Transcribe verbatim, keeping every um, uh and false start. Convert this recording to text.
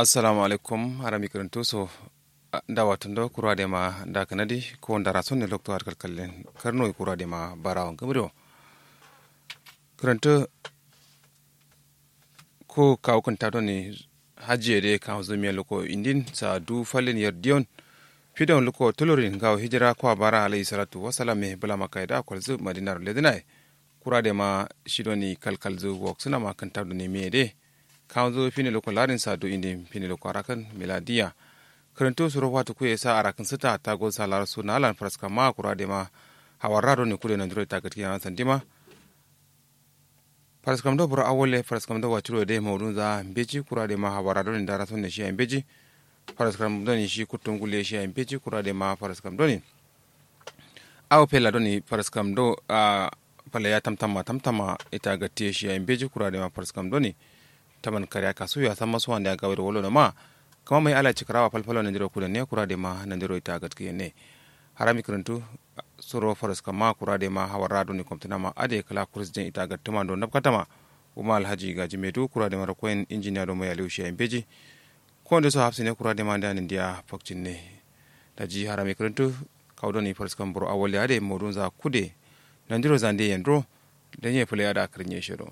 Assalamu alaikum. Harami kǝrǝntu so. Nda watundo kura de ma nda kǝnadi ko ndara sonne lokto har kalkallen karno kura de ma barawo ngǝmrio. Kǝrǝntu ko kawu kǝnta doni hajji ye de kawu zumiya luko indin sa du fallen yer diyon. Fidon luko tulurin ngawo hijira kwa bara alayhi salatu wasalam ye bula makka ye da kwalzu madinar ledinaye. Kura de ma shi doni kalkalzu woksuna ma kǝnta doni miye de. Kawu zu fini luko larin sa du indin fini luko arakan miladiya. Kǝrǝntu suro fatu kuye sa arakan sǝta tago sa lar su nalan faraskam ma kura de ma hawarra doni kude nandiro ita gǝtki yanan sandima. Faraskam do buro awolle faraskam do waciro de maudun za mbeji kura de ma hawarra doni ndara sonne shi ya mbeji. Faraskam doni shi kuttum gulle shi ya mbeji kura de ma faraskam doni. Awo fella doni faraskam do a falla ya tamtamma tamtamma ita gatti ye shi ya mbeji kura de ma faraskam doni. Taman kariya kasu ya samma suwan da ya gawe da wolo no ma. Kama mai ala cikarawa falfalo nandiro kudan ne kura de ma nandiro ita gatti ye ne. Harami kǝrǝntu suro faraskam ma kura de ma hawarra doni komtuna ma ade kala kuris den ita gatti ma do nabkatama. Uma alhaji gaji medu kura de ma rakoyin injiniya do mai aliyu shi ya mbeji. Ko nde so hafsine kura de ma nda nindiya fakcinne. Daji harami kǝrǝntu kawu doni faraskam buro awalli ade modun za kude. Nandiro zande yendro. Danye fule ada kǝrǝnye shiro.